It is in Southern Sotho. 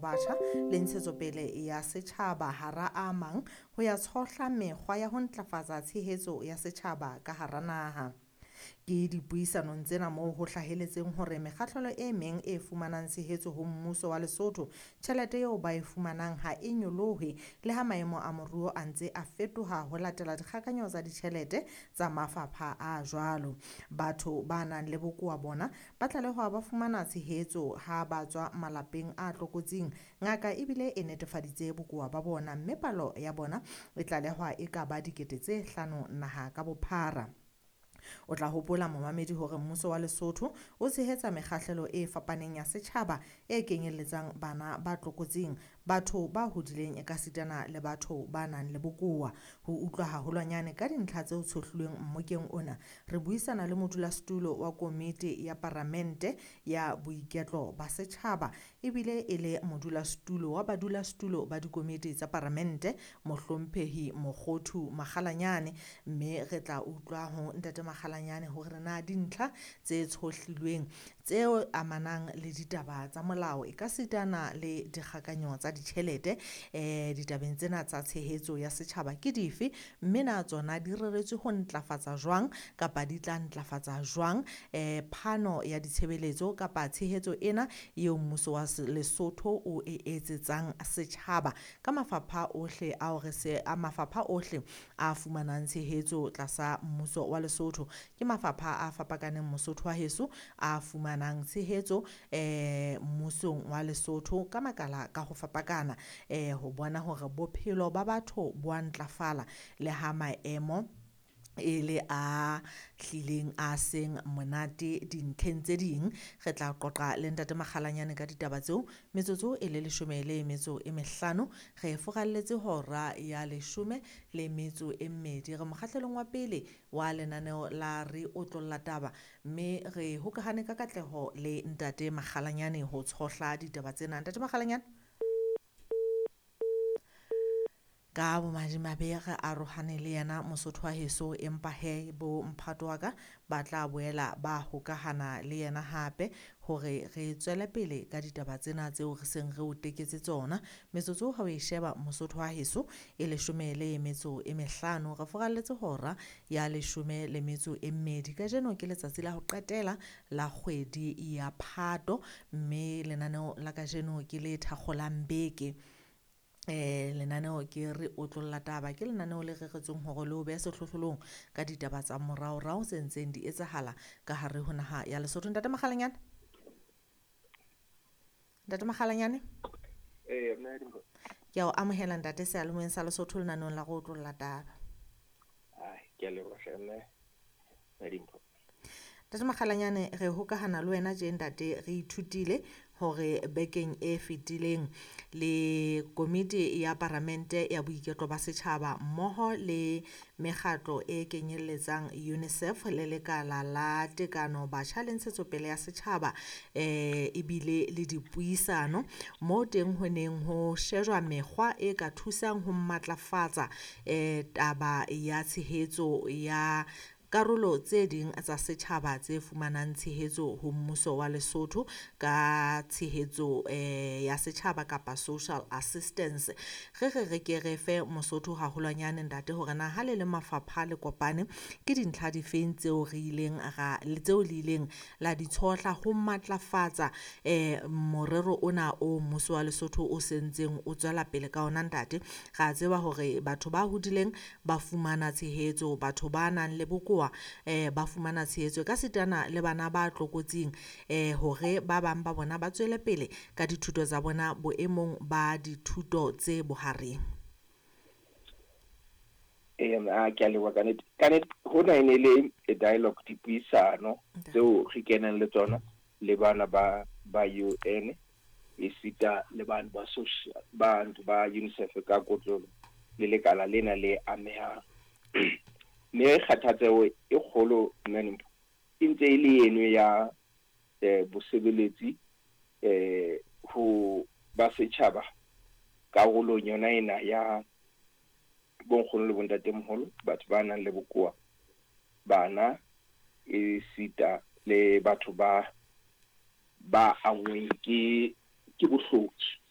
Batjha le Ntshetsopele ya Setjhaba hara a mang ho ya tshohla mekgwa ya ho ntlafatsa tshehetso ya setjhaba ka hara naha. Ke dipuisanong tsena moo ho hlaheletseng hore mekgahlelo e meng e fumanang tshehetso ho mmuso wa Lesotho, tjhelete eo ba e fumanang ha e nyolohe le ha maemo a moruo a ntse a fetoha ho latela dikgakanyo tsa ditjhelete tsa mafapha a jwalo. Batho ba nang le bokowa bona ba tlalehwa ba fumana tshehetso ha ba tswa malapeng a tlokotsing. Ngaka ebile e netefaditse bokowa ba bona mme palo ya bona e tlalehwa e ka ba 5000 naha ka bophara. O tla hopola momamedi hore mmuso wa Lesotho o tshehetsa mekgahlelo e fapaneng ya setjhaba e kenyelletsang bana ba tlokotsing, batho ba hodileng ekasitana le batho ba nang le bokowa. Ho utlwa haholwanyane ka dintlha tseo tshohlilweng mmokeng ona, re buisana le modulasetulo wa komiti ya paramente ya boiketlo ba setjhaba ebile e le modulasetulo wa badulasetulo ba dikomiti tsa paramente, Mohlomphehi Mokgothu Makgalanyane, mme re tla utlwa ho Ntate Makgalanyane hore na dintlha tse tshohlilweng tseo amanang le ditaba tsa molao ekasitana le dikgakanyo tsa ditjhelete ditabeng tsena tsa tshehetso ya setjhaba ke dife, mme na tsona di reretswe ho ntlafatsa jwang kapa di tla ntlafatsa jwang phano ya ditshebeletso kapa tshehetso ena eo mmuso wa Lesotho o e etsetsang setjhaba ka mafapha ohle ao re se a mafapha ohle a fumanang tshehetso tlasa mmuso wa Lesotho. Ke mafapha a fapakaneng Mosotho wa heso a fumanang tshehetso mmusong wa Lesotho ka makala ka ho fapakana ho bona hore bophelo ba batho bo a ntlafala le ha maemo e le a hlileng a seng monate dintlheng tse ding. Re tla qoqa le Ntate Makgalanyane ka ditaba tseo metsotso e le 15 re furalletse hora ya 12. Re mokgahlelong wa pele wa lenaneo la Re Otlolla Taba, mme re hokahane ka katleho le Ntate Makgalanyane ho tshohla ditaba tsena. Ntate Makgalanyane, ka bomadimabe re arohane le yena Mosotho wa heso, empa he bo mphato wa ka ba tla boela ba hokahana le yena hape hore re tswele pele ka ditaba tsena tseo re seng re o teketse tsona. Metsotso ha o e sheba Mosotho wa heso e 15, re furalletse hora ya 12. Kajeno ke letsatsi la ho qetela la kgwedi ya Phato, mme lenaneo la kajeno ke le thakgolang beke. Lenaneo ke Re Otlolla Taba, ke lenaneo le reretsweng hore le o behe sehlohlolong ka ditaba tsa moraorao tse ntseng di etsahala ka hare ho naha ya Lesotho. Ntate Makgalanyane, Ntate Makgalanyane, ke a o amohela ntate seyalemoyeng sa Lesotho lenaneong la Re Otlolla Taba. Ke a leboha mme Madimpho. Ntate Makgalanyane, re hokahana le wena tje ntate, re ithutile hore bekeng e fetileng le komiti ya paramente ya boiketlo ba setjhaba mmoho le mekgatlo e kenyelletsang UNICEF le lekala la tekano batjha le ntshetsopele ya setjhaba ebile le dipuisano moo teng ho neng ho shejwa mekgwa e ka thusang ho matlafatsa taba ya tshehetso ya karolo tse ding tsa setjhaba tse fumanang tshehetso ho mmuso wa Lesotho ka tshehetso ya setjhaba kapa social assistance. Re re re ke re fe Mosotho haholwanyane ntate hore na ha le le mafapha le kopane ke dintlha difeng tseo re ileng ra tseo le ileng la di tshohla ho matlafatsa morero ona o mmuso wa Lesotho o sentseng o tswela pele ka ona ntate. Ra tseba hore batho ba hodileng ba fumana tshehetso, batho ba nang le bokowa ba fumana tshehetso ka sitana le bana ba tlokotsing hore ba bang ba bona ba tswele pele ka dithuto tsa bona boemong ba dithuto tse bohareng. Ke a leboha ka nnete. Ka nnete hona e ne le a dialogue, dipuisano tseo re kenang le tsona le bana ba UN esita le bana ba social ba UNICEF ka kotlolo le lekala lena le amehang. Mme kgathatseho e kgolo mme e ntse e le eno ya bosebeletsi ho ba setjhaba karolong yona ena ya bonkgono le bontatemoholo, batho ba nang le bokowa, bana esita le batho ba angweng ke bohloki.